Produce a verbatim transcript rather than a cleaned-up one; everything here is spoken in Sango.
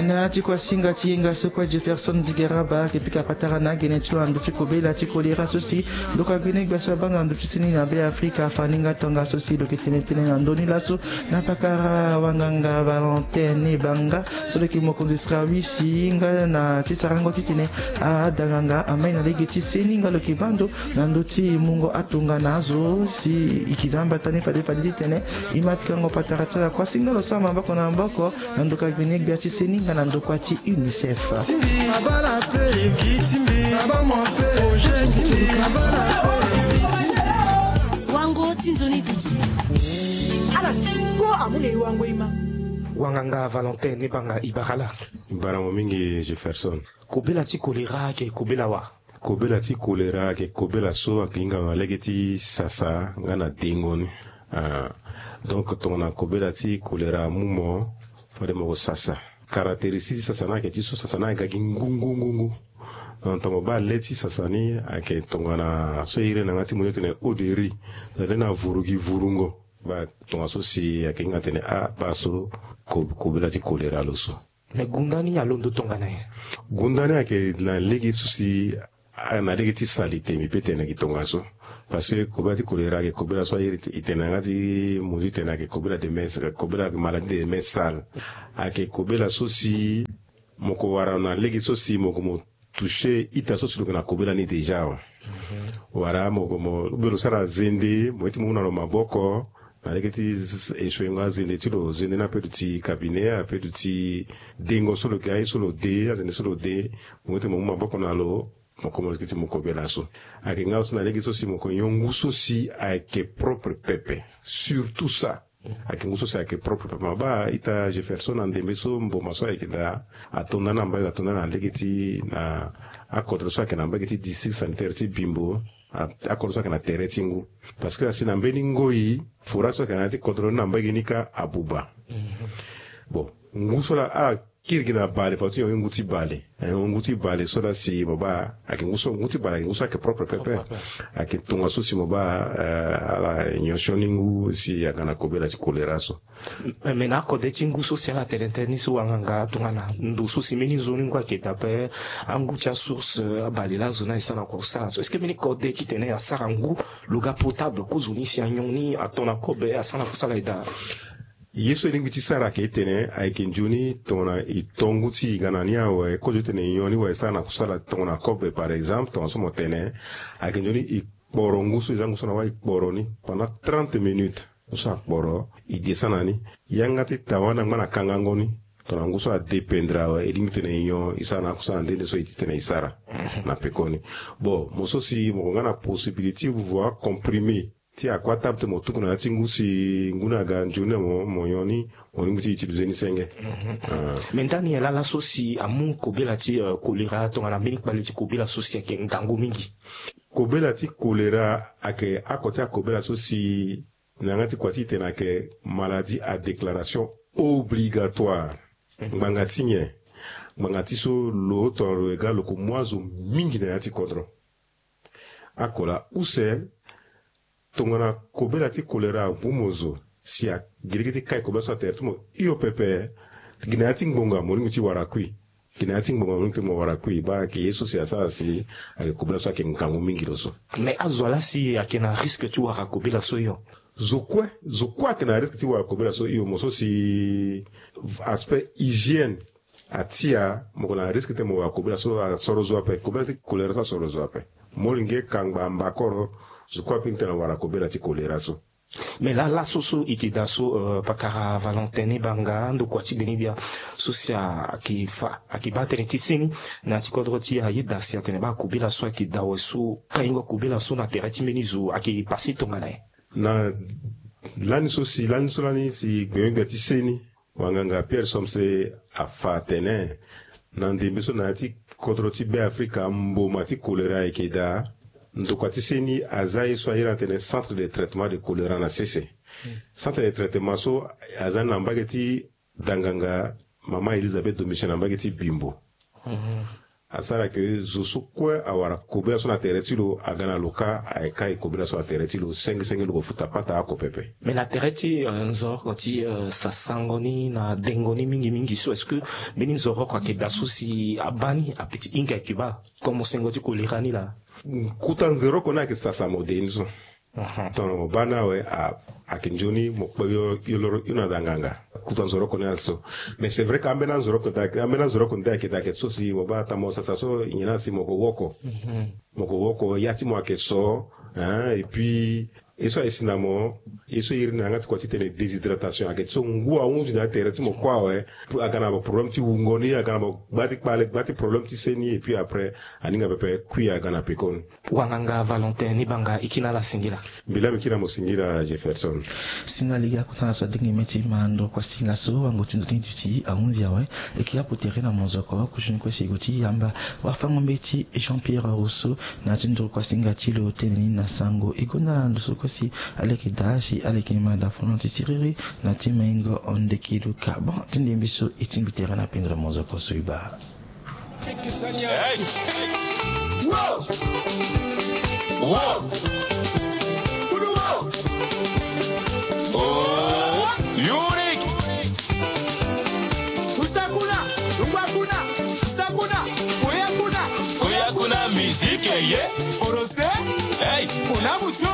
Na ti kuasinga ti yenga so kue Jefferson Zigaraba ayeke pika patara na agene ti lo na ndö ti kobela ti kolera so si lo ka gbi na e gbia so abaa na ndö ti seni na Be Afrika. Afa ni nga tongaso si lo yeke tene tënë na ndö ni laso na pakara wanganga Valentin Ebanga so lo yeke mokonzi sira wisi nga na ti sarango titene adanganga amai na lege ti seni nga lo yeke baa ndo na ndö ti mungo atongana azo si e yeke za mbata ni fade fade titene e ma pikango patara ti ala kuasinga lo sara maboko na maboko na ndoka gbene gbia ti seni nga na ndokua ti UNICEF. Wango ti nzoni duti. Ala duti ko amu na e wango e ma. Wanganga Valentin Ebanga, e bara ala. E bara mo mingi Jefferson. Kobela ti kolera ayeke kobela wa? Kobela ti kolera ayeke kobela so ayeke hinga na lege ti sasa nga na dengo ni. Ah, donc tongana kobela ti kolera amu mo, fade mo sasa. Caractéristique ti sasa ni ayeke ti so sasa ni aga gi ngu ngu ngu ngu. Ah, tongana mo baa le ti sasa ni ayeke tongana so e iri na yanga ti mo ni tene eau de riz, tongana le na vuru gi vurungo. Baa tongaso si ayeke hinga tene ah baa so ko- kobela ti kolera lo so. Me gunda ni alondo tongana nyen? Gunda ni ayeke na lege so si a- na lege ti salite, mbi pe tene gi tongaso. Parce que kobela ti kolera ayeke kobela so aye e tene na yanga ti mo ti tene ayeke kobela de main, kobela ayeke maladie de main sale. Ayeke kobela so si mo ko wara na lege so si mo ko mo toucher ita so si lo yeke na kobela ni déjà awe. Wala mo ko mo ou bien lo sara zende, mo ye ti mo mu na lo maboko na lege ti s- essuingo azende ti lo, zende ni ape duti cabinet, ape duti dengo so lo yeke aye so lo de, azende so lo de, mo ye ti mo mu maboko na lo, mo komo leke ti mo kobela so. Ayeke nga aussi na lege so si mo ko nyon ngu so si ayeke propre pepe. Surtout ça. Ayeke ngu so si ayeke propre pepe. Ma baa ita Jefferson na ndembe so mboma so ayeke daa ato nda na mbage, ato nda na lege ti na akodro so ayeke na mbage ti district sanitaire ti Bimbo. A- akodro so ayeke na tere ti ngu. Parce que asi na mbeni ngoi forage so ayeke na ya ti kodro ni na mbage ni kâ abuba. Bon, ngu so laa ala kiri gi na bale, partout e yongo ngu ti bale. E yongo ngu ti bale so laa si mo baa ayeke ngu so, ngu ti bale ayeke ngu so ayeke propre pepe. Ayeke tongaso si mo baa eh, ala nyon sioni ngu si aga na kobela ti kolera so. Me na akode ti ngu so si ala tene tënë ni so wanganga tongana ndo so si mbeni nzoni ngu ayeke daa ape, angu ti asource, eh, abale laa zo ni ayeke sara na kosala so. Est-ce que mbeni kode titene asara ngu lo ga potable kozoni si anyon ni ato na kobe asara na kosala e daa? Ye so e lingbi ti sara ayeke tene ayeke nzoni tongana e to ngu ti e ga na ni awe, kozo ti tene e nyon ni wa e sara na kusala tongana kobe par exemple, tongana so mo tene, ayeke nzoni e kporo ngu so, e za ngu so na wâ e kporo ni pendant trente minutes. Ngu so akporo, e descend na ni. Yanga ti tawa ni angba na kangango ni. Tongana ngu so adépendre awe, e lingbi tene e nyon, e sara na akusala nde nde so e ti tene e sara na pekoni. Bon, mo so si mo ko nga na possibilité ti voie comprimé ti akua table ti mo tuku na ya ti ngu si ngu ni aga nzoni na mo, mo nyon ni, mo lingbi ti utiliser ni senge. Ah. Me ndani nyen laa laso si amu kobela ti eh, kolera tongana mbeni kpale ti kobela so si ayeke ngangu mingi? Kobela ti kolera ayeke oko ti akobela so si na yanga ti kua ti e tene ayeke maladie à déclaration obligatoire. Ngbanga ti nyen? Ngbanga ti so lo tongana lo yeke ga lo ko mu azo mingi na ya ti kodro. Oko laa use tongana kobela ti kolera abu mo zo si a- gi lege ti kai kobela so atere ti mo hio pepe, gi na ya ti ngbonga mo lingbi ti wara kui. Gi na ya ti ngbonga mo lingbi ti mo wara kui. Baa ayeke ye so si asara si ayeke kobela so ayeke ngangu mingi lo so. Me azo laa si ayeke na risque ti wara kobela so hio? Zo kue, zo kue ayeke na risque ti wara kobela so hio. Mo so si aspect hygiène atia, mo ko na risque ti mo wara kobela so asoro zo ape. Kobela ti kolera so asoro zo ape. Molenge, kangba, mbakoro, zo kue ape ni tena wara kobela ti kolera so. Me laa laso so e yeke daa so, eh, pakara Valentin Ebanga, ndokua ti gbene gbia so si ayeke fa, ayeke baa tënë ti seni na ya ti kodro ti ayeda si atene baa kobela so ayeke daa awe so kaingo kobela so na tere ti mbeni zo ayeke pase tongana nyen? Na lani so si, lani so lani si gbene gbia ti seni, wanganga Pierre Somse afa atene, na ndembe so na ya ti kodro ti Be Afrika, mboma ti kolera ayeke daa. Ndokua ti seni aza ye so a iri atene centre de traitement de choléra na sese. Centre de traitement so aza ni na mbage ti danganga mama Elisabeth Domitien na mbage ti Bimbo. asara ke zo so kue awara kobela so na tere ti lo aga na lo kâ, aye kâ e kobela so na tere ti lo senge senge lo ko futa pata oko pepe. Mais na tere ti nzoroko ti sasango ni na dengo ni mingi mingi so est-ce que mbeni nzoroko ayeke daa so si abaa ni ape ti hinga ayeke baa komo sengo ti kolera ni laa? Kota nzoroko ni ayeke sasa mo de ni so. Tongana mo baa ni awe, ayeke nzoni mo kpe yo loro yo na da nganga. Kota nzoroko ni ayeke so. Mais c'est vrai ke ambeni anzoroko nde ayeke daa ke so si mo baa ata mo sasa so nyen na si mo ko woko. Mo ko woko ya ti mo ayeke so. Hein, et puis ye so aye si na mo, ye so iri na yanga ti kua ti tene déshydratation ayeke so ngu ahunzi na tere ti mo kue awe. Aga na mo problème ti wungo ni, aga na mo gba ti kpale, gba ti problème ti se ni et puis après aninga pepe kui aga na pekoni. Wanganga Valentin ni banga e kina ala singila. Mbi laa mbi kina mo singila Jefferson. Singa lege akota na so adenge mê ti ma ndokua singa so wango ti nzoni duti ahunzi awe. E kiri apo tere na monzoko kusuni kue si e gue ti yamba wafango mbeti Jean Pierre Rousseau na ya ti ndokua singa ti lo tene ni na sango e gonda na ndo so kue si ala yeke daa si ala yeke ma daa fono ti siriri na ti maingo ndeki luka. Bon ti ndembi so e tingbi tere na pendere monzoko so e baa. Hey! Wow! Wow! Oh, unique! Uta kuna, lungba kuna, uta kuna, koya kuna, koya kuna, musique, yeah. Orose? Hey! Kuna mucho.